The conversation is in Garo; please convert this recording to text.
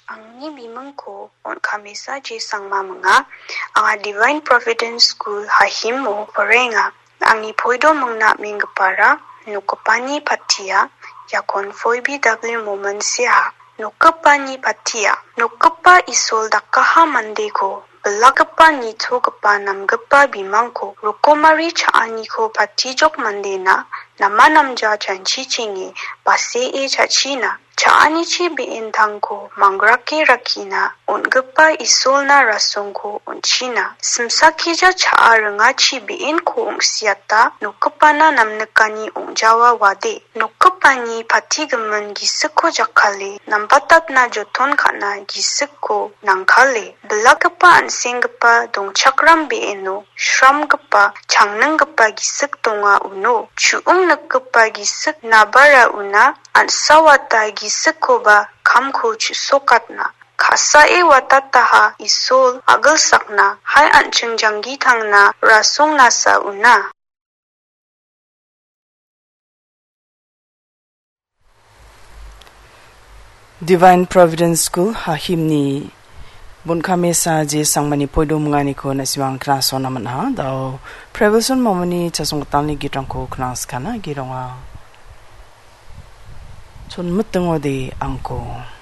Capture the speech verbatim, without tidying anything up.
Angni bimingko Onkamesa J Sangma minga. Anga Divine Providence School Hahimo porenga. Angni poido mingna meanggipara nokgipani patia, iakon Phoebe W Momon seaha. Nokgipani patia. Nokgipa Isol dakaha mandeko bilakgipa, nitogipa, namgipa bimangko rokomari cha·aniko patijok mandena nama namja chanchichenge basee cha·china. Cha·anichi be·entangko mangrake rakkina on·gipa Isolna rasongko on·china. Simsakija cha·a ringachi be·enko ong·siata nokgipana namnikani ong·jawa wade. Nokgipani patigimin gisikko jakkale, nambatatna joton ka·na gisikko nangkale, bilakgipa an·senggipa dongchakram be·eno, sramgipa, changninggipa gisik donga uno. Chu·ong nikgipa gisik nabara una, an·sawata gisikkoba kamko chu·sokatna. Ka·sae watataha Isol a·gilsakna, hai an·ching janggi tangna rasongnasa una. Divine Providence School Hahimni Bunkamesa J Sangmani poido minganiko na·simang knasona man·a. Dao Prevelson Momoni chasonggitalni gitrangko knangskana gironga. Chonmitingode angko.